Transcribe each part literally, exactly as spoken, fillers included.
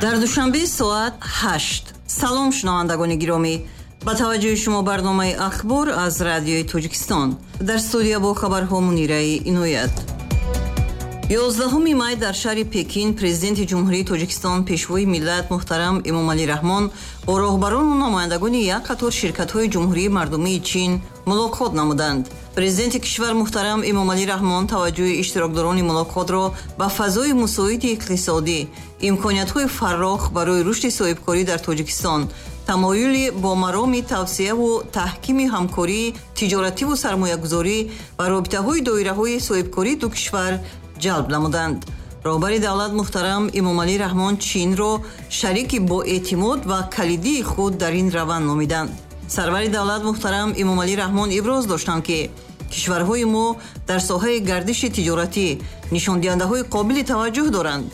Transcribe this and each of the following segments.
Дар Душанбе соат ҳашт. Салом, шунавандагони гиромӣ. Ба таваҷҷӯҳи шумо барномаи «Ахбор» аз Радиои Тоҷикистон. Дар студия бо хабарҳо Мунираи Иноят. Ёздаҳуми май дар шаҳри Пекин Президенти Ҷумҳурии Тоҷикистон, Пешвои миллат муҳтарам Эмомалӣ Раҳмон бо роҳбарону намояндагони як қатор ширкатҳои Ҷумҳурии Мардумии Чин мулоқот намуданд. Президенти кишвар муҳтарам Эмомалӣ Раҳмон таваҷҷӯҳи иштирокдорони мулоқотро ба фазои мусоиди иқтисодӣ, имкониятҳои фаррох барои рушди соҳибкорӣ дар Тоҷикистон, тамоюли бо мароми тавсеаву таҳкими ҳамкории тиҷоративу сармоягузорӣ ва робитаҳои доираҳои соҳибкории ду кишвар ҷалб намуданд. Роҳбари давлат муҳтарам Эмомалӣ Раҳмон Чинро шарики боэътимод ва калидии худ дар ин раванд номиданд. Сарвари давлат муҳтарам Эмомалӣ Раҳмон иброз доштанд, ки кишварҳои мо дар соҳаи гардиши тиҷоратӣ нишондиҳандаҳои қобили таваҷҷӯҳ доранд.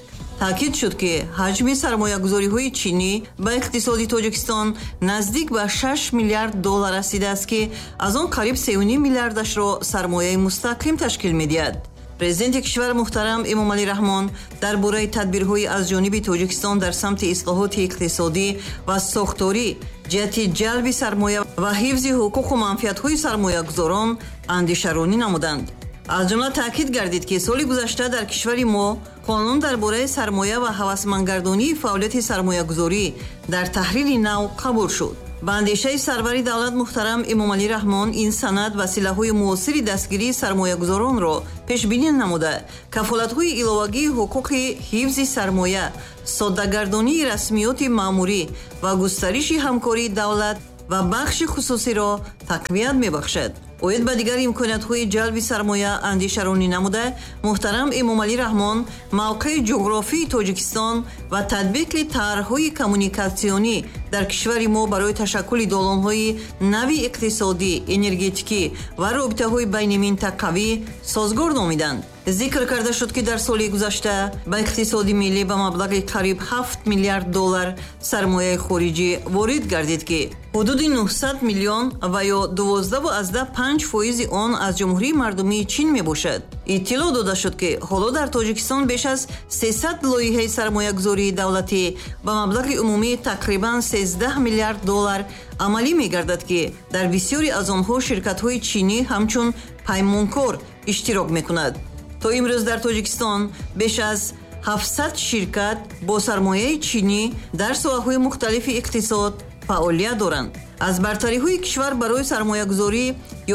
Таъкид шуд, ки ҳаҷми сармоягузориҳои чинӣ ба иқтисоди Тоҷикистон наздик ба шаш миллиард доллар расидааст, ки аз он қариб сею ним миллиардашро сармояи мустақим ташкил медиҳад. Президенти кишвар муҳтарам Эмомалӣ Раҳмон дар бораи тадбирҳои аз ҷониби Тоҷикистон дар самти ислоҳоти иқтисодӣ ва сохторӣ ҷиҳати ҷалби сармоя ва ҳифзи ҳуқуқу манфиатҳои сармоягузорон андешаронӣ намуданд. Аз ҷумла таъкид гардид, ки соли гузашта дар кишвари мо қонун дар бораи сармоя ва ҳавасмандгардонии фаъолияти сармоягузорӣ дар таҳрири нав қабул шуд. Ба андешаи сарвари давлат муҳтарам Эмомалӣ Раҳмон, ин санад василаҳои муосири дастгирии сармоягузоронро пешбинӣ намуда, кафолатҳои иловагии ҳуқуқи ҳифзи сармоя, соддагардонии расмиёти маъмурӣ ва густариши ҳамкории давлат ва бахши хусусиро тақвият мебахшад. Оид ба дигар имкониятҳои ҷалби сармоя андешаронӣ намуда, муҳтарам Эмомалӣ Раҳмон мавқеи ҷуғрофии Тоҷикистон ва татбиқи тарҳҳои коммуникатсионӣ дар кишвари мо барои ташаккули долонҳои нави иқтисодӣ, энергетикӣ ва робитаҳои байниминтақавӣ созгор номиданд. Зикр карда шуд, ки дар соли гузашта ба иқтисоди миллӣ ба маблағи қариб ҳафт миллиард доллар сармояи хориҷӣ ворид гардид, ки ҳудуди нӯҳсад миллион ва ё дувоздаҳу аздаҳ панҷ фоизи он аз Ҷумҳурии Мардумии Чин мебошад. Иттилоъ дода шуд, ки ҳоло дар Тоҷикистон беш аз сесад лоиҳаи сармоягузории давлатӣ ба маблағи умумии тақрибан сездаҳ миллиард доллар амалӣ мегардад, ки дар бисёре аз онҳо ширкатҳои чинӣ ҳамчун паймонкор иштирок мекунад. То имрӯз дар Тоҷикистон беш аз ҳафтсад ширкат бо сармояи чинӣ дар соҳаҳои мухталифи иқтисод фаъолият доранд. Аз бартариҳои кишвар барои сармоягузорӣ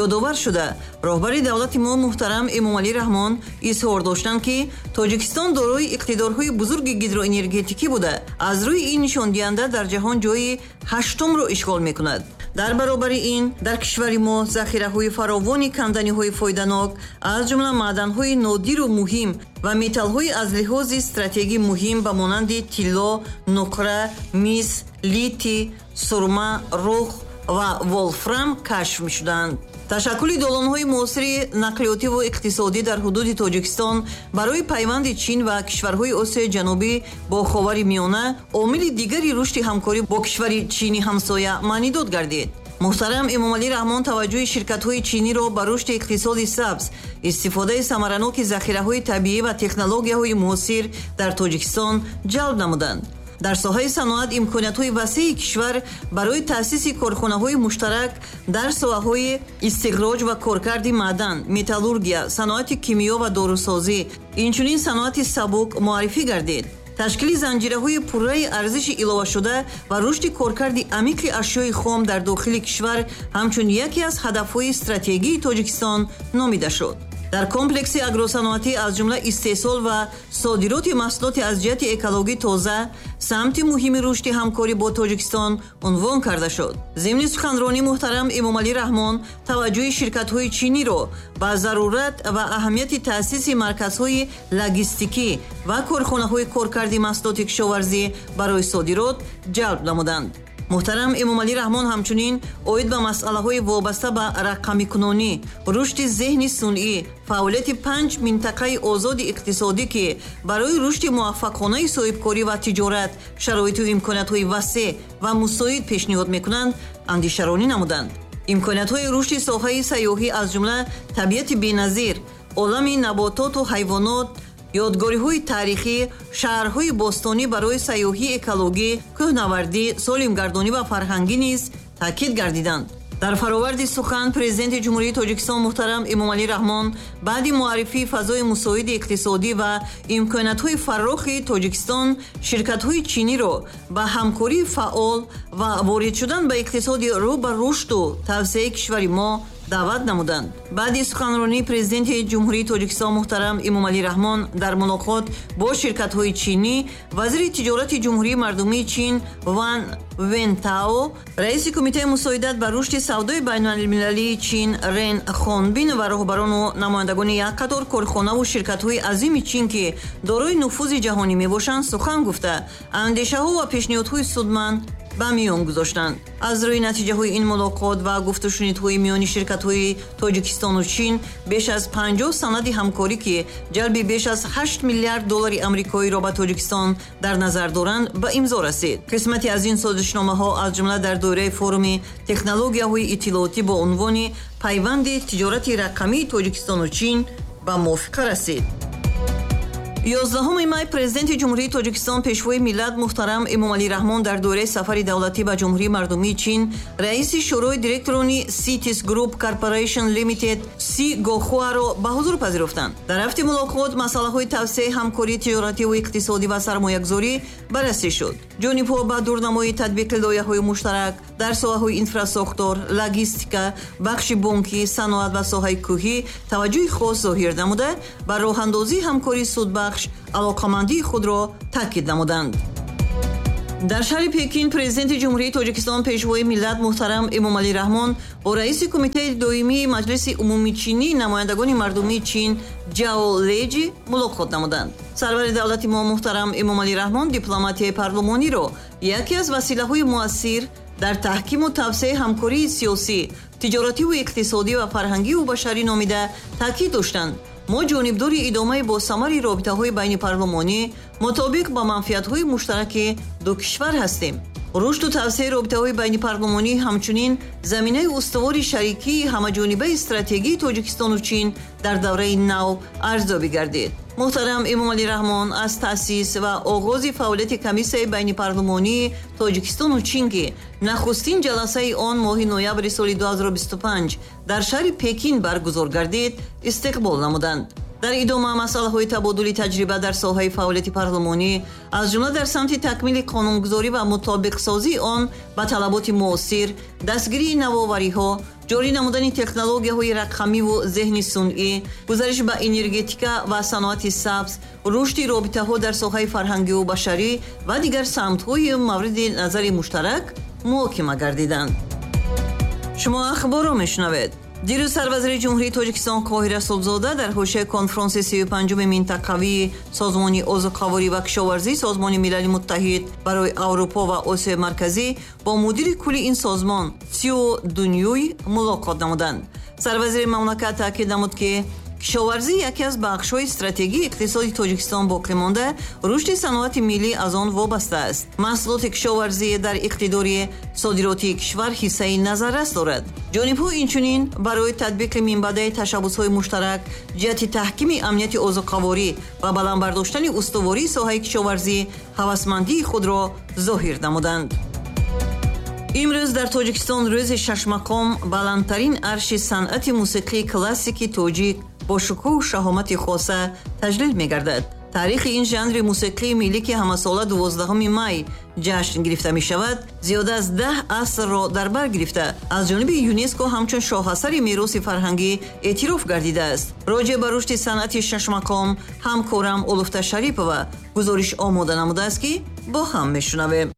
ёдовар шуда, роҳбари давлати мо муҳтарам Эмомалӣ Раҳмон изҳор доштанд, ки Тоҷикистон дорои иқтидорҳои бузурги гидроэнергетикӣ буда, аз рӯи ин нишондиҳанда дар ҷаҳон ҷои ҳаштумро ишғол мекунад. Дар баробари ин дар кишвари мо захираҳои фаровони канданиҳои фоиданок, аз ҷумла маъданҳои нодиру муҳим ва металлҳои аз лиҳози стратегӣ муҳим ба монанди тилло, нуқра, мис, литий, сурма, рух ва волфрам кашф мешуданд. Ташаккули долонҳои муосири нақлиётиву иқтисодӣ дар ҳудуди Тоҷикистон барои пайванди Чин ва кишварҳои Осиёи Ҷанубӣ бо Ховари Миёна омили дигари рушди ҳамкорӣ бо кишвари чини ҳамсоя маънидод гардид. Муҳтарам Эмомалӣ Раҳмон таваҷҷӯҳи ширкатҳои чиниро ба рушди иқтисоди сабз, истифодаи самараноки захираҳои табиӣ ва технологияҳои муосир дар Тоҷикистон ҷалб намуданд. Дар соҳаи саноат имкониятҳои васеи кишвар барои таъсиси корхонаҳои муштарак дар соҳаҳои истихроҷ ва коркарди маъдан, металлургия, саноати кимиё ва дорусозӣ, инчунин саноати сабук муаррифӣ гардид. Ташкили занҷираҳои пурраи арзиши иловашуда ва рушди коркарди амиқи ашёи хом дар дохили кишвар ҳамчун яке аз ҳадафҳои стратегии Тоҷикистон номида шуд. Дар комплекси агросаноатӣ, аз ҷумла истеҳсол ва содироти маҳсулоти аз ҷиҳати экологӣ тоза, самти муҳими рушди ҳамкорӣ бо Тоҷикистон унвон карда шуд. Зимни суханронӣ муҳтарам Эмомалӣ Раҳмон таваҷҷӯҳи ширкатҳои чиниро ба зарурат ва аҳамияти таъсиси марказҳои логистикӣ ва корхонаҳои коркарди маҳсулоти кишоварзӣ барои содирот ҷалб намуданд. Муҳтарам Эмомалӣ Раҳмон ҳамчунин оид ба масъалаҳои вобаста ба рақамикунонӣ, рушди зеҳни сунъӣ, фаъолияти панҷ минтақаи озоди иқтисодӣ, ки барои рушди муваффақонаи соҳибкорӣ ва тиҷорат шароиту имкониятҳои васеъ ва мусоид пешниҳод мекунанд, андешаронӣ намуданд. Имкониятҳои рушди соҳаи сайёҳӣ, аз ҷумла табиати беназир, Олами набототу ҳайвонот, ёдгориҳои таърихӣ, шаҳрҳои бостонӣ барои сайёҳии экологӣ, кӯҳнавардӣ, солимгардонӣ ва фарҳангӣ низ таъкид гардиданд. Дар фароварди сухан Президенти Ҷумҳурии Тоҷикистон муҳтарам Эмомалӣ Раҳмон баъди муаррифии фазои мусоиди иқтисодӣ ва имкониятҳои фаррохи Тоҷикистон ширкатҳои чиниро ба ҳамкории фаъол ва ворид шудан ба иқтисоди рӯ ба рушду тавсеаи кишвари мо даъват намуданд. Баъди суханронии Президенти Ҷумҳурии Тоҷикистон муҳтарам Эмомалӣ Раҳмон дар мулоқот бо ширкатҳои чинӣ, вазири тиҷорати Ҷумҳурии Мардумии Чин Ван Вентао, раиси Кумитаи мусоидат ба рушди савдои байналмилалии Чин Рен Хонбин ва роҳбарону намояндагони як қатор корхонаву ширкатҳои азими Чин, ки дорои нуфузи ҷаҳонӣ мебошанд, сухан гуфта, андешаҳо ва пешниҳодҳои судманд ба миён гузоштанд. Аз рӯи натиҷаҳои ин мулоқот ва гуфтушунидҳои миёни ширкатҳои Тоҷикистону Чин беш аз панҷоҳ санади ҳамкорӣ, ки ҷалби беш аз ҳашт миллиард доллари амрикоиро ба Тоҷикистон дар назар доранд, ба имзо расид. Қисмате аз ин созишномаҳо аз ҷумла дар доираи форуми технологияҳои иттилоотӣ бо унвони пайванди тиҷорати рақамии Тоҷикистону Чин ба мувофиқа расид. Ёздаҳуми май Президенти Ҷумҳурии Тоҷикистон, Пешвои миллат муҳтарам Эмомалӣ Раҳмон дар доираи сафари давлатӣ ба Ҷумҳурии Мардумии Чин раиси Шӯрои директорони Citis Group Corporation Limited Си Гохуаро ба ҳузур пазируфтанд. Дар рафти мулоқот масъалаҳои тавсеаи ҳамкории тиҷоративу иқтисодӣ ва сармоягузорӣ баррасӣ шуд. Ҷонибҳо ба дурнамои татбиқи лоиҳаҳои муштарак дар соҳаҳои инфрасохтор, логистика, бахши бонкӣ, саноат ва соҳаи кӯҳӣ таваҷҷӯҳи хос зоҳир намуда, ба роҳандозии ҳамкории судбахш алоқамандии худро таъкид намуданд. Дар шаҳри Пекин Президенти Ҷумҳурии Тоҷикистон, Пешвои миллат муҳтарам Эмомалӣ Раҳмон бо раиси Кумитаи доимии Маҷлиси умумичинии намояндагони мардумии Чин Ҷао Леҷи мулоқот намуданд. Сарвари давлати мо муҳтарам Эмомалӣ Раҳмон дипломатияи парлумониро яке аз василаҳои муассир дар таҳкиму тавсеаи ҳамкории сиёсӣ, тиҷоративу иқтисодӣ ва фарҳангиву башарӣ номида таъкид доштанд. Мо ҷонибдори идомаи босамари робитаҳои байнипарлумонӣ мутобиқ ба манфиатҳои муштараки ду кишвар ҳастем. Рушду тавсеаи робитаҳои байнипарлумонӣ ҳамчунин заминаи устувори шарикии ҳамаҷонибаи стратегии Тоҷикистону Чин дар давраи нав арзёбӣ гардид. Муҳтарам Эмомалӣ Раҳмон аз таъсис ва оғози фаъолияти комиссияи байнипарлумонии Тоҷикистону Чин, ки нахустин ҷаласаи он моҳи ноябри соли ду ҳазору бисту панҷ дар шаҳри Пекин баргузор гардид, истиқбол намуданд. Дар идома масъалаҳои табодули таҷриба дар соҳаи фаъолияти парлумонӣ, аз ҷумла дар самти такмили қонунгузорӣ ва мутобиқсозии он ба талаботи муосир, дастгирии навовариҳо, ҷорӣ намудани технологияҳои рақамиву зеҳни сунъӣ, гузариш ба энергетика ва саноати сабз, рушди робитаҳо дар соҳаи фарҳангиву башарӣ ва дигар самтҳои мавриди назари муштарак муҳокима гардиданд. Шумо ахборро мешунавед. Дирӯз сарвазири Ҷумҳурии Тоҷикистон Қоҳир Расулзода дар ҳошияи конфронси сию панҷуми минтақавии Созмони озуқаворӣ ва кишоварзии Созмони Милали Муттаҳид барои Аврупо ва Осиёи Марказӣ бо мудири кулли ин созмон Сио Дунюй мулоқот намуданд. Сарвазири мамлакат таъкид намуд, ки кишоварзӣ яке аз бахшҳои стратегии иқтисоди Тоҷикистон боқӣ монда, рушди саноати миллӣ аз он вобаста аст. Маҳсулоти кишоварзӣ дар иқтидори содиротии кишвар ҳиссаи назаррас дорад. Ҷонибҳо инчунин барои татбиқи минбаъдаи ташаббусҳои муштарак ҷиҳати таҳкими амнияти озуқаворӣ ва баланд бардоштани устувории соҳаи кишоварзӣ ҳавасмандии худро зоҳир намуданд. Имрӯз дар Тоҷикистон рӯзи шашмақом баландтарин арши санъати мусиқии классики тоҷик бо шукӯҳу шаҳомати хоса таҷлил мегардад. Таърихи ин жанри мусиқии миллӣ, ки ҳамасола дувоздаҳуми май ҷашн гирифта мешавад, зиёда аз даҳ асрро дар бар гирифта, аз ҷониби ЮНЕСКО ҳамчун шоҳасари мероси фарҳангӣ эътироф гардидааст. Роҷеъ ба рушди санъати шашмақом ҳамкорам Улуфта Шарипова гузориш омода намудааст, ки бо ҳам мешунавем.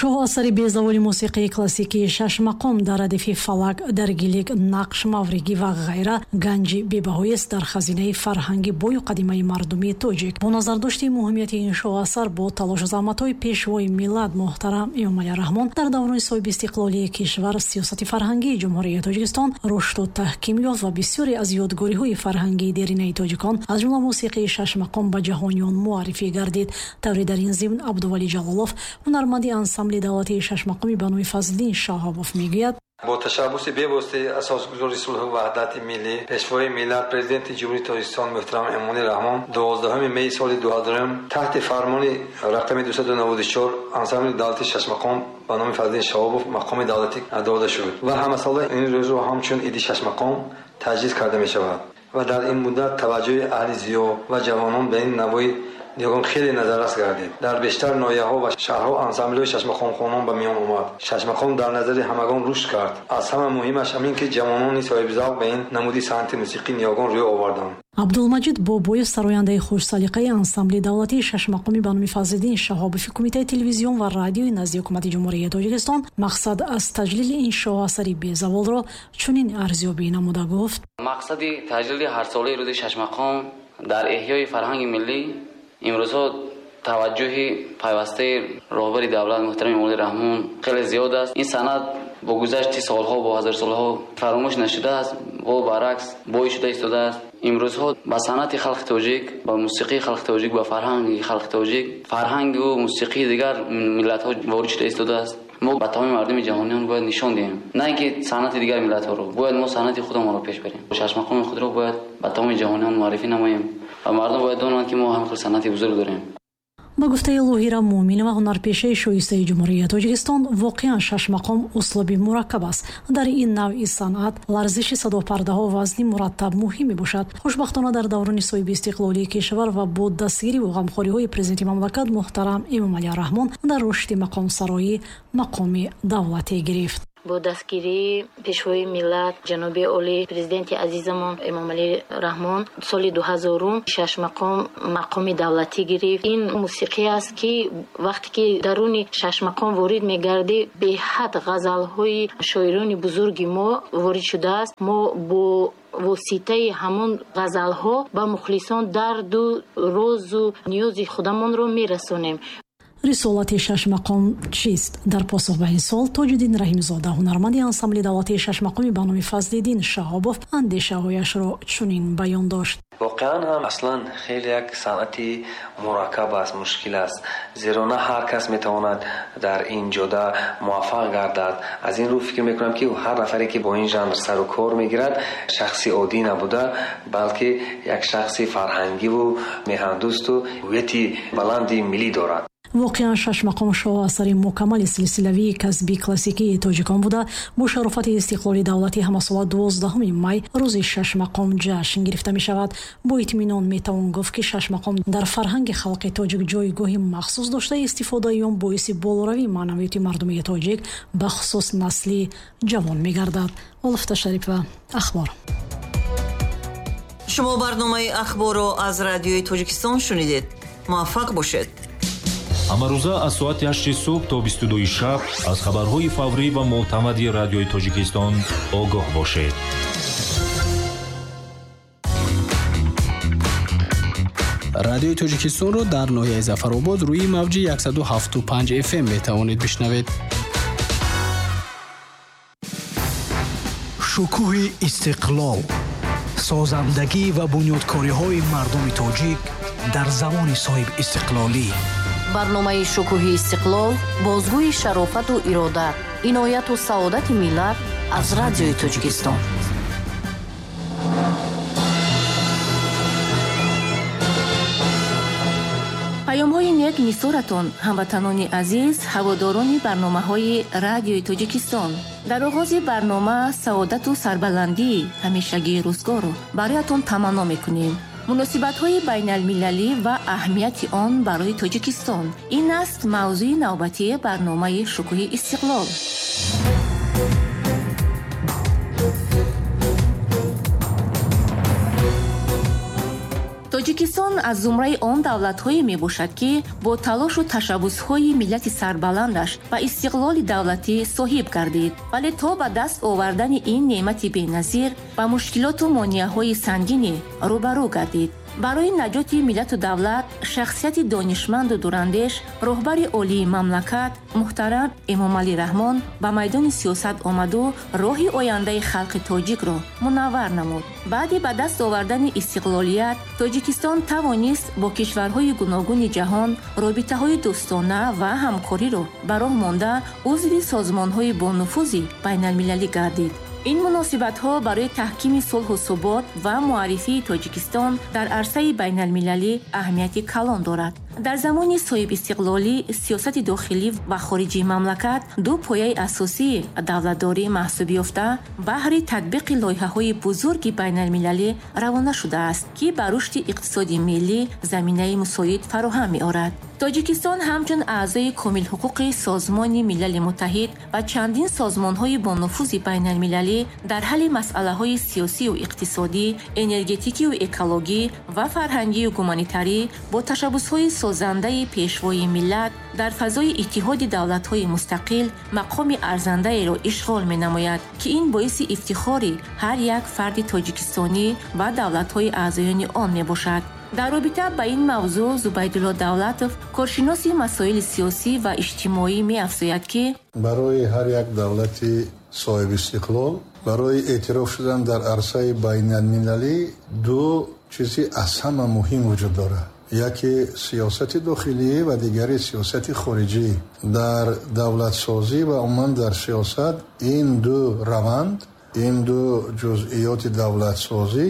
Шоҳасари безаволи мусиқии классикии шашмақом дар радифи фалак, даргилик, нақш, мавригӣ ва ғайра ганҷи бебаҳоест дар хазинаи фарҳанги бою қадимаи мардумии тоҷик. Бо назардошти муҳимияти ин шоҳасар бо талошу заҳматҳои пешвои миллат муҳтарам Эмомалӣ Раҳмон дар даврони соҳибистиқлолии кишвар сиёсати фарҳангии Ҷумҳурии Тоҷикистон рушду таҳким ёфт ва бисёре аз ёдгориҳои фарҳангии деринаи тоҷикон аз ҷумла мусиқии шашмақом ба ҷаҳониён муаррифӣ гардид. Тавре дар ин зимн Абдувалӣ Ҷалолов, ҳунарманди ансамбли давлатии шашмақоми ба номи Фазлиддин Шаҳобов мегӯяд: Бо ташаббуси бевоситаи асосгузори сулҳу ваҳдати миллӣ, пешвои миллат, президенти Ҷумҳурии Тоҷикистон муҳтарам Эмомалӣ Раҳмон дувоздаҳуми майи соли дуҳазорум таҳти фармони рақами дусаду наваду чор ансамбли давлатии шашмақом ба номи Фазлиддин Шаҳобов мақоми давлатӣ дода шуд ва ҳамасола ин рӯзро ҳамчун иди шашмақом таҷлил карда мешавад ва дар ин муддат таваҷҷӯҳи аҳли зиё ва ҷавонон ба ин навои ниёгон хеле назаррас гардид. Дар бештар ноҳияҳо ва шаҳрҳо ансамблҳои шашмақомхонон ба миён омад. Шашмақом дар назари ҳамагон рушд кард. Аз ҳама муҳимаш ҳамин ки ҷавонони соҳибзавқ ба ин намуди санъати мусиқӣ ниёгон рӯй оварданд. Абдулмаҷид Бобоев, сарояндаи хушсалиқаи ансамбли давлатии шашмақоми ба номи Фазлиддин Шаҳобови Кумитаи телевизион ва радиои назди ҳукумати Ҷумҳурии Тоҷикистон, мақсад аз таҷлили ин шоҳасари безаволро чунин арзёбӣ намуда гуфт: мақсади таҷлили ҳарсолаи рӯзи шашмақом дар эҳёи фарҳанги миллӣ имрӯзҳо таваҷҷӯҳи пайвастаи роҳбари давлат муҳтарам Эмомалӣ Раҳмон хеле зиёд аст. Ин санъат бо гузашти солҳо, бо ҳазорсолҳо фаромӯш нашудааст, бо баръакс бой шуда истодааст. Имрӯзҳо ба санъати халқи тоҷик, ба мусиқии халқи тоҷик, ба фарҳанги халқи тоҷик, фарҳангу мусиқии дигар миллатҳо ворид шуда истодааст. Мо ба тамоми мардуми ҷаҳониён бояд нишон диҳем, на ин ки санъати дигар миллатҳоро, бояд мо санъати худамонро пеш барем. Шашмақоми худро бояд ба тамоми ҷаҳониён муаррифӣ намоем ва мардум бояд донанд, ки мо ҳам хел санъати бузург дорем. Ба гуфтаи Лоҳира Муъминова, ҳунарпешаи шоистаи Ҷумҳурии Тоҷикистон, воқеан шашмақом услуби мураккаб аст. Дар ин навъи санъат ларзиши садопардаҳо вазни мураттаб муҳим мебошад. Хушбахтона дар даврони соҳиби истиқлолии кишвар ва бо дастгириву ғамхориҳои президенти мамлакат муҳтарам Эмомалӣ Раҳмон дар рушди мақомсароӣ мақоми давлатӣ гирифт. Бо дастгирии пешвои миллат ҷаноби олӣ президенти азизамон Эмомалӣ Раҳмон соли дуҳазорум шашмақом мақоми давлатӣ гирифт. Ин мусиқӣ аст, ки вақте ки даруни шашмақом ворид мегардӣ, беҳад ғазалҳои шоирони бузурги мо ворид шудааст. Мо бо воситаи ҳамон ғазалҳо ба мухлисон дарду розу ниёзи худамонро мерасонем. Рисолати шашмақом чист? Дар посух ба ин суол Тоҷиддин Раҳимзода, ҳунарманди ансамбли давлатии шашмақоми ба номи Фазлиддин Шаҳобов, андешаҳояшро чунин баён дошт. Воқеан ҳам аслан хеле як санъати мураккаб аст, мушкил аст, зеро на ҳар кас метавонад дар ин ҷода муваффақ гардад. Аз ин рӯ фикр мекунам, ки ҳар нафаре ки бо ин жанр сару кор мегирад, шахси оддӣ набуда, балки як шахси фарҳангиву меҳандӯсту ҳувияти баланди миллӣ дорад. Воқеан шашмақом шоҳасари мукаммали силсилавии касби классикии тоҷикон буда, бо шарофати истиқлоли давлатӣ ҳамасола дувоздаҳуми май рӯзи шашмақом ҷашн гирифта мешавад. Бо итминон метавон гуфт, ки шашмақом дар фарҳанги халқи тоҷик ҷойгоҳи махсус дошта, истифодаи он боиси болоравии маънавиёти мардумии тоҷик, бахусус насли ҷавон мегардад. Олуфта Шарипова, Ахбор. Шумо барномаи Ахборро аз радиои Тоҷикистон шунидед. Муваффақ бошед. Ҳамарӯза аз соати ҳашти субҳ то бисту дуи шаб аз хабарҳои фаврӣ ва мӯътамади радиои Тоҷикистон огоҳ бошед. Радиои Тоҷикистонро дар ноҳияи Зафаробод рӯи мавҷи яксаду ҳафтоду панҷ эф эм метавонед бишнавед. Шукӯҳи истиқлол, созандагӣ ва бунёдкориҳои мардуми тоҷик дар замони соҳиб истиқлолӣ. Барномаи шукӯҳи истиқлол бозгӯи шарофату ирода, инояту саодати миллат аз радиои Тоҷикистон. Паёмҳои нек нисоратон, ҳамватанони азиз, ҳаводорони барномаҳои радиои Тоҷикистон. Дар оғози барнома саодату сарбаландии ҳамешагии рӯзгорро бароятон таманно мекунем. Муносибатҳои байналмилалӣ ва аҳамияти он барои Тоҷикистон. Ин аст мавзӯи навбатии барномаи шукӯҳи истиқлол. Тоҷикистон аз зумраи он давлатҳое мебошад, ки бо талошу ташаббусҳои миллати сарбаландаш ба истиқлоли давлатӣ соҳиб гардид. Вале то ба даст овардани ин неъмати беназир ба мушкилоту монеаҳои сангине рӯбарӯ гардид. Барои наҷоти миллату давлат шахсияти донишманду дурандеш, роҳбари олии мамлакат муҳтарам Эмомалӣ Раҳмон ба майдони сиёсат омаду роҳи ояндаи халқи тоҷикро мунаввар намуд. Баъди ба даст овардани истиқлолият, Тоҷикистон тавонист бо кишварҳои гуногуни ҷаҳон робитаҳои дӯстона ва ҳамкориро ба роҳ монда узви созмонҳои бонуфузи байналмилалӣ гардид. Ин муносибатҳо барои таҳкими сулҳу субот ва муаррифии Тоҷикистон дар арсаи байналмилалӣ аҳамияти калон дорад. Дар замони соҳибистиқлолӣ сиёсати дохилӣ ва хориҷии мамлакат ду пояи асосии давлатдорӣ маҳсуб ёфта, баҳри татбиқи лоиҳаҳои бузурги байналмилалӣ равона шудааст, ки ба рушди иқтисоди миллӣ заминаи мусоид фароҳам меорад. Тоҷикистон ҳамчун аъзои комилҳуқуқи Созмони Милали Муттаҳид ва чандин созмонҳои бонуфузи байналмилалӣ дар ҳалли масъалаҳои сиёсию иқтисодӣ, энергетикию экологӣ ва фарҳангию гуманитарӣ бо ташаббусҳои созандаи пешвои миллат дар фазои иттиҳоди давлатҳои мустақил мақоми арзандаеро ишғол менамояд, ки ин боиси ифтихори ҳар як фарди тоҷикистонӣ ва давлатҳои аъзоёни он мебошад. Дар робита ба ин мавзӯъ Зубайдулло Давлатов, коршиноси масоили сиёсӣ ва иҷтимоӣ, меафзояд, ки барои ҳар як давлати соҳибистиқлол барои эътироф шудан дар арсаи байналмилалӣ ду чизи аз ҳама муҳим вуҷуд дорад. Яке сиёсати дохилӣ ва дигари сиёсати хориҷӣ. Дар давлатсозӣ ва умуман дар сиёсат ин ду раванд, ин ду ҷузъиёти давлатсозӣ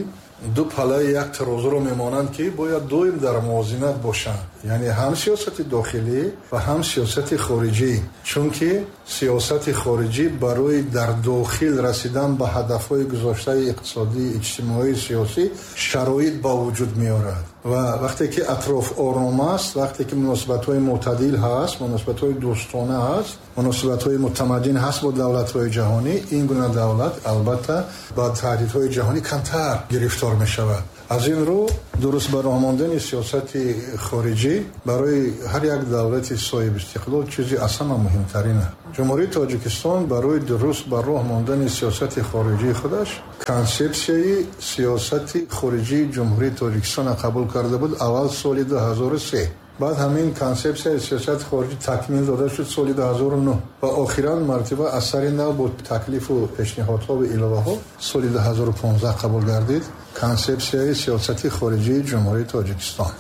ду палаи як тарозуро мемонанд, ки бояд доим дар мувозинат бошанд, яъне ҳам сиёсати дохилӣ ва ҳам сиёсати хориҷӣ. Чунки сиёсати хориҷӣ барои дар дохил расидан ба ҳадафҳои гузоштаи иқтисодӣ, иҷтимоӣ, сиёсӣ шароит ба вуҷуд меорад. Ва вақте ки атроф ором аст, вақте ки муносибатҳои мӯътадил ҳаст, муносибатҳои дӯстона ҳаст, муносибатҳои мутамаддин ҳаст бо давлатҳои ҷаҳонӣ, ин гуна давлат албатта ба таҳдидҳои ҷаҳонӣ камтар гирифтор мешавад. Аз ин рӯ дуруст ба роҳ мондани сиёсати хориҷӣ барои ҳар як давлати соҳибистиқлол чизи аз ҳама муҳимтарин аст. Ҷумҳурии Тоҷикистон барои дуруст ба роҳ мондани сиёсати хориҷии худаш консепсияи сиёсати хориҷии Ҷумҳурии Тоҷикистонро қабул карда буд аввал соли ду ҳазору се. Баъд ҳамин консепсияи сиёсати хориҷӣ такмил дода шуд соли ду ҳазору нӯҳ ва охиран мартиба аз сари нав бо таклифу пешниҳодҳо ва иловаҳо соли ду ҳазору понздаҳ қабул гардид консепсияи сиёсати хориҷии Ҷумҳурии Тоҷикистон.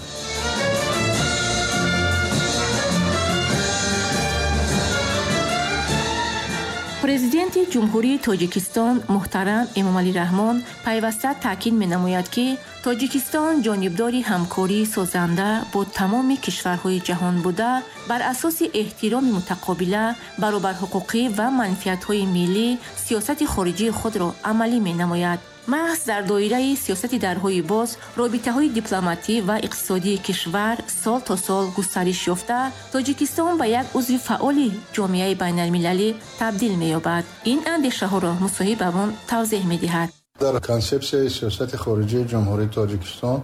Президенти Ҷумҳурии Тоҷикистон муҳтарам Эмомалӣ Раҳмон пайваста таъкид менамояд, ки Тоҷикистон ҷонибдори ҳамкории созанда бо тамоми кишварҳои ҷаҳон буда, бар асоси эҳтироми мутақобила, баробарҳуқуқӣ ва манфиатҳои миллӣ сиёсати хориҷии худро амалӣ менамояд. Маҳз дар доираи сиёсати дарҳои боз, робитаҳои дипломатӣ ва иқтисодии кишвар сол то сол густариш ёфта, Тоҷикистон ба як узви фаъоли ҷомеаи байналмилалӣ табдил меёбад. Ин андешаҳоро мусоҳибамон тавзеҳ медиҳад. Дар консепсияи сиёсати хориҷии Ҷумҳурии Тоҷикистон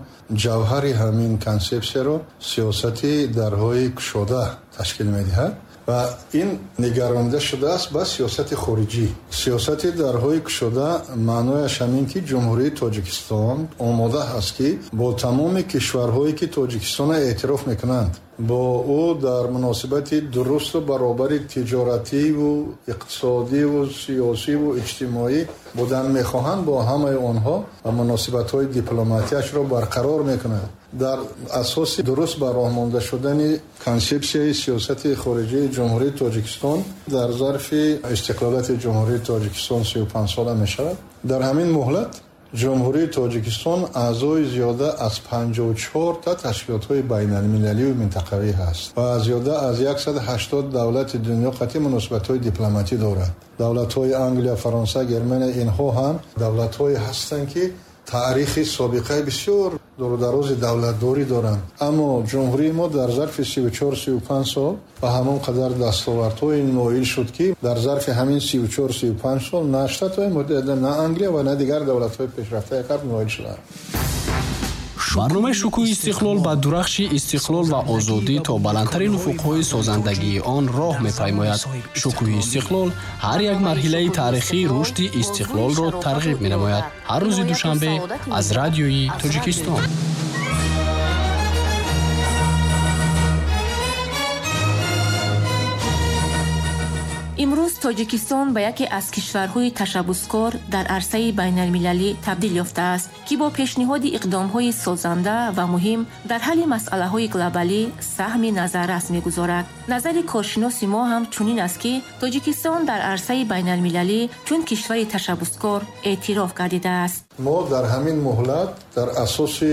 ҷавҳари ҳамин консепсияро сиёсати дарҳои кушода ташкил медиҳад ва ин нигаронида шудааст ба сиёсати хориҷӣ. Сиёсати дарҳои кушода маънояш ҳамин, ки Ҷумҳурии Тоҷикистон омода аст, ки бо тамоми кишварҳое, ки Тоҷикистонро эътироф мекунанд, бо ӯ дар муносибати дурусту баробари тиҷоративу иқтисодиву сиёсиву иҷтимоӣ будан мехоҳанд, бо ҳамаи онҳо ва муносибатҳои дипломатияшро барқарор мекунад. Дар асоси дуруст ба роҳ монда шудани консепсияи сиёсати хориҷии Ҷумҳурии Тоҷикистон дар зарфи истиқлолияти Ҷумҳурии Тоҷикистон сию панҷ сола мешавад. Дар ҳамин муҳлат Ҷумҳурии Тоҷикистон аъзои зиёда аз панҷоҳу чор та ташкилотҳои байналмилалию минтақавӣ ҳаст ва зиёда аз яксаду ҳаштод давлати дунё қатъи муносибатҳои дипломатӣ дорад. Давлатҳои Англия, Фаронса, Германия инҳо ҳам давлатҳое ҳастанд, ки таърихи собиқаи бисёр дурударози давлатдорӣ доранд. Аммо ҷумҳурии мо дар зарфи сию чор сию панҷ сол ба ҳамон қадар дастовардҳои ноил шуд, ки дар зарфи ҳамин сию чор сию панҷ сол на Штатҳои Муттаҳида, на Англия ва на дигар давлатҳои пешрафтаи ғарб ноил шуданд. Барномаи шукӯҳи истиқлол ба дурахши истиқлол ва озодӣ то баландтарин уфуқҳои созандагии он роҳ мепаймояд. Шукӯҳи истиқлол ҳар як марҳилаи таърихии рушди истиқлолро тарғиб менамояд. Ҳар рӯзи душанбе аз радиои Тоҷикистон. Имрӯз Тоҷикистон ба яке аз кишварҳои ташаббускор дар арсаи байналмилалӣ табдил ёфтааст, ки бо пешниҳоди иқдомҳои созанда ва муҳим дар ҳалли масъалаҳои глобалӣ саҳми назаррас мегузорад. Назари коршиноси мо ҳам чунин аст, ки Тоҷикистон дар арсаи байналмилалӣ чун кишвари ташаббускор эътироф гардидааст. Мо дар ҳамин муҳлат дар асоси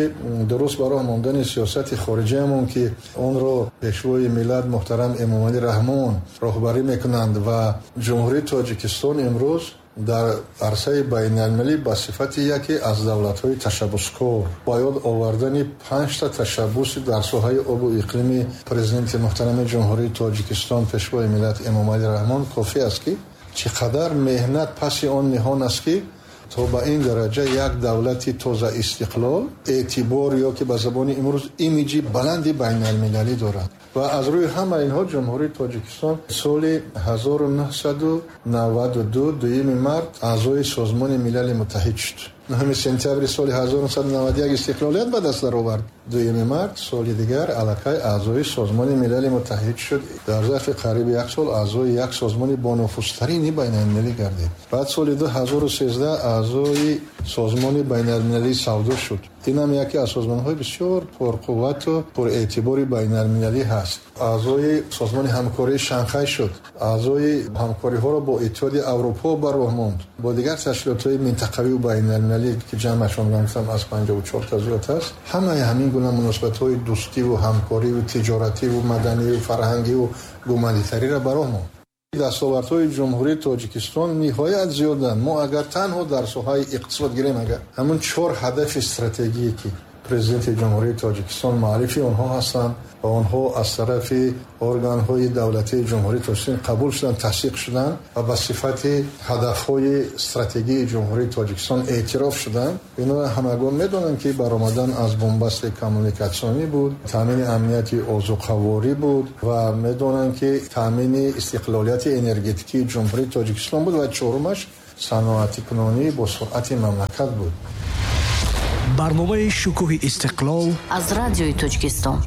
дуруст ба роҳ мондани сиёсати хориҷиамон, ки онро пешвои миллат муҳтарам Эмомалӣ Раҳмон роҳбарӣ мекунанд ва Ҷумҳурии Тоҷикистон имрӯз дар арсаи байналмилалӣ ба сифати яке аз давлатҳои ташаббускор ба ёд овардани панҷта ташаббуси дар соҳаи обу иқлими президенти муҳтарами Ҷумҳурии Тоҷикистон пешвои миллат Эмомалӣ Раҳмон кофӣ аст, ки чӣ қадар меҳнат паси он ниҳон аст, ки то ба ин дараҷа як давлати тоза истиқлол эътибор ё ки ба забони имрӯз имиҷи баланди байналмилалӣ дорад. Ва аз рӯи ҳама инҳо Ҷумҳурии Тоҷикистон соли ҳазору нӯҳсаду наваду ду дуюми март аъзои Созмони Милали Муттаҳид шуд. Нӯҳуми сентябри соли ҳазору нӯҳсаду наваду як истиқлолият ба даст даровард. Дуюми март соли дигар аллакай аъзои Созмони Милали Муттаҳид шуд. Дар зарфи қариби як сол аъзои як созмони бонуфузтарини байналмилалӣ гардид. Баъд соли ду ҳазору сездаҳ аъзои Созмони байналмилалии савдо шуд. Ин ҳам яке аз созмонҳои бисёр пурқуввату пурэътибори байналмилалӣ ҳаст. Аъзои Созмони ҳамкории Шанхай шуд. Аъзои ҳамкориҳоро бо Иттиҳоди Аврупо ба роҳ монд. Бо дигар ташкилотҳои минтақавию байналмилалӣ, ки ҷамъашон гуфтам аз панҷоҳу чор та зиёд аст. Ҳамаи ҳамин гуна муносибатҳои дӯстиву ҳамкориву тиҷоративу маданиву фарҳангиву гуманитариро ба роҳ монд. Дастовардҳои Ҷумҳурии Тоҷикистон ниҳоят зиёданд. Мо агар танҳо дар соҳаи иқтисод гирем, агар ҳамун чор ҳадафи стратегие, ки президенти Ҷумҳурии Тоҷикистон муаллифи онҳо ҳастанд ва онҳо аз тарафи органҳои давлатии Ҷумҳурии Тоҷикистон қабул шуданд, тасдиқ шуданд ва ба сифати ҳадафҳои стратегии Ҷумҳурии Тоҷикистон эътироф шуданд. Инро ҳамагон медонанд, ки баромадан аз бунбасти коммуникатсионӣ буд, таъмини амнияти озуқаворӣ буд ва медонанд, ки таъмини истиқлолияти энергетикии Ҷумҳурии Тоҷикистон буд ва чорумаш саноатикунонӣ бо суръати мамлакат буд. Барномаи шукӯҳи истиқлол аз радиои Тоҷикистон.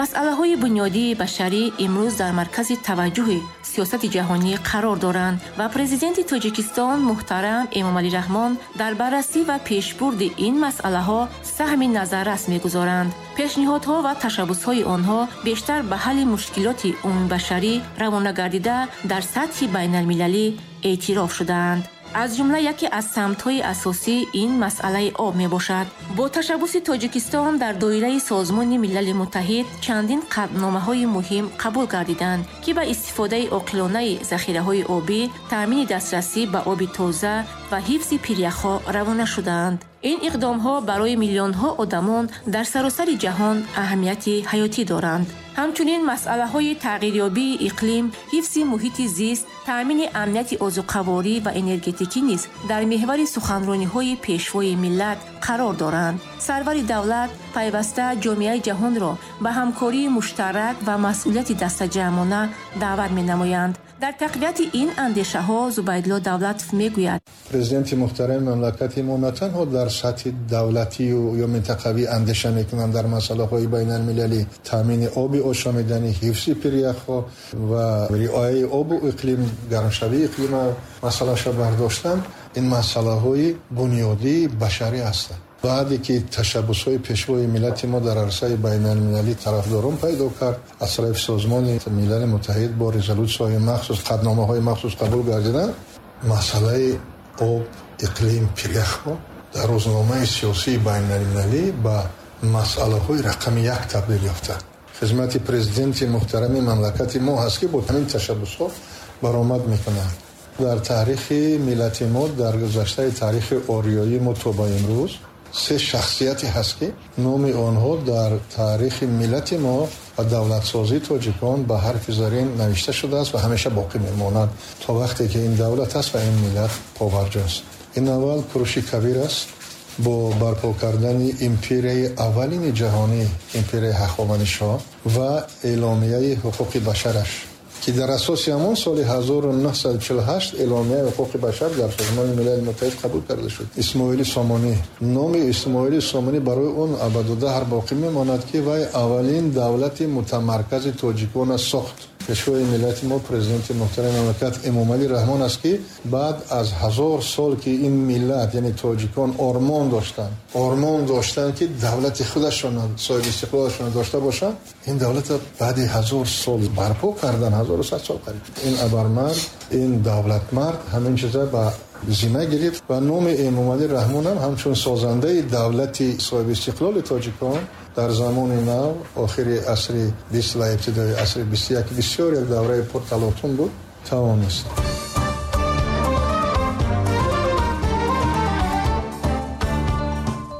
Масъалаҳои бунёдии башарӣ имрӯз дар маркази таваҷҷӯҳи сиёсати ҷаҳонӣ қарор доранд ва президенти Тоҷикистон муҳтарам Эмомалӣ Раҳмон дар баррасӣ ва пешбурди ин масъалаҳо саҳми назаррас мегузоранд. Пешниҳодҳо ва ташаббусҳои онҳо бештар ба ҳалли мушкилоти умумибашарӣ равона гардида дар сатҳи байналмилалӣ эътироф шудаанд. Аз ҷумла яке аз самтҳои асосӣ ин масъалаи об мебошад. Бо ташаббуси Тоҷикистон дар доираи Созмони Милали Муттаҳид чандин қатъномаҳои муҳим қабул гардиданд, ки ба истифодаи оқилонаи захираҳои обӣ, таъмини дастрасӣ ба оби тоза ва ҳифзи пиряхҳо равона шудаанд. Ин иқдомҳо барои миллионҳо одамон дар саросари ҷаҳон аҳамияти ҳаётӣ доранд. Ҳамчунин масъалаҳои тағйирёбии иқлим, ҳифзи муҳити зист, таъмини амнияти озуқаворӣ ва энергетикӣ низ дар меҳвари суханрониҳои пешвои миллат қарор доранд. Сарвари давлат пайваста ҷомеаи ҷаҳонро ба ҳамкории муштарак ва масъулияти дастаҷамъона даъват менамоянд. Дар тақвияти ин андешаҳо Зубайдулло Давлатов мегӯяд: Президенти муҳтарами мамлакати мо на танҳо дар сатҳи давлатию ё минтақавӣ андеша мекунанд дар масъалаҳои байналмилалӣ, таъмини оби ошомиданӣ, ҳифзи пиряхҳо ва риояи обу иқлим, гармшавии иқлима масъалаша бардоштан, ин масъалаҳои бунёдии башарӣ ҳастанд. Баъде ки ташаббусҳои пешвои миллати мо дар арсаи байналмилалӣ тарафдорон пайдо кард, аз тарафи Созмони Милали Муттаҳид бо резолютсияҳои махсус, қатъномаҳои махсус қабул гардиданд, масъалаи об, иқлим, пиряхҳо дар рӯзномаи сиёсии байналмилалӣ ба масъалаҳои рақами як табдил ёфтанд. Хизмати президенти муҳтарами мамлакати мо ҳаст, ки бо ҳамин ташаббусҳо баромад мекунанд. Дар таърихи миллати мо, дар гузаштаи таърихи ориёии мо то ба имрӯз се шахсияте ҳаст, ки номи онҳо дар таърихи миллати мо ва давлатсозии тоҷикон ба ҳарфи зарин навишта шудааст ва ҳамеша боқӣ мемонад то вақте ки ин давлат аст ва ин миллат побарҷост. Ин аввал Куруши Кабир аст бо барпо кардани империяи аввалини ҷаҳонӣ, империяи Ҳахоманишо ва эъломияи ҳуқуқи башараш, ки дар асоси ҳамон соли ҳазору нӯҳсаду чилу ҳашт эъломияи ҳуқуқи башар дар Созмони Милали Муттаҳид қабул карда шуд. Исмоили Сомонӣ, номи Исмоили Сомонӣ барои он абаду даҳр боқӣ мемонад, ки вай аввалин давлати мутамаркази тоҷикона сохт. Пешвои миллати мо, президенти муҳтарами мамлакат Эмомалӣ Раҳмон аст, ки баъд аз ҳазор сол ки ин миллат, яъне тоҷикон, ормон доштанд, ормон доштанд ки давлати худашон, соҳиби истиқлолашон дошта бошанд, ин давлатро баъди ҳазор сол барпо кардан, ҳазору сад сол қариб. Ин абармард, ин давлатмард ҳамин чиза ба зима гирифт ва номи Эмомалӣ Раҳмон ҳам ҳамчун созандаи давлати соҳиби истиқлоли тоҷикон дар замони нав, охири асри бист ва ибтидои асри бисту як, бисёр як давраи пурталотум буд, тавонист.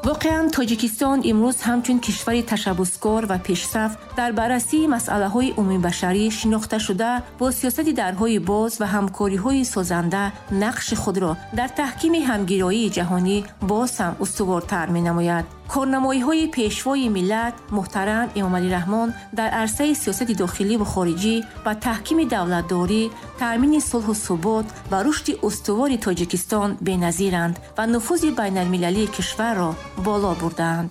Воқеан, Тоҷикистон имрӯз ҳамчун кишвари ташаббускор ва пешсаф дар баррасии масъалаҳои умумибашарӣ шинохта шуда, бо сиёсати дарҳои боз ва ҳамкориҳои созанда нақши худро дар таҳкими ҳамгироии ҷаҳонӣ боз ҳам устувортар менамояд. Корнамоиҳои пешвои миллат муҳтарам Эмомалӣ Раҳмон дар арсаи сиёсати дохилӣ ва хориҷӣ ба таҳкими давлатдорӣ, таъмини сулҳу субот ва рушди устувори Тоҷикистон беназиранд ва нуфузи байналмилалии кишварро боло бурдаанд.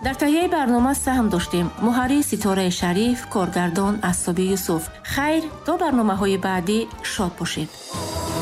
Дар таҳияи барнома саҳм доштем муҳаррир Ситораи Шариф, коргардон Асоби Юсуф. Хайр, то барномаҳои баъдӣ шод бошед.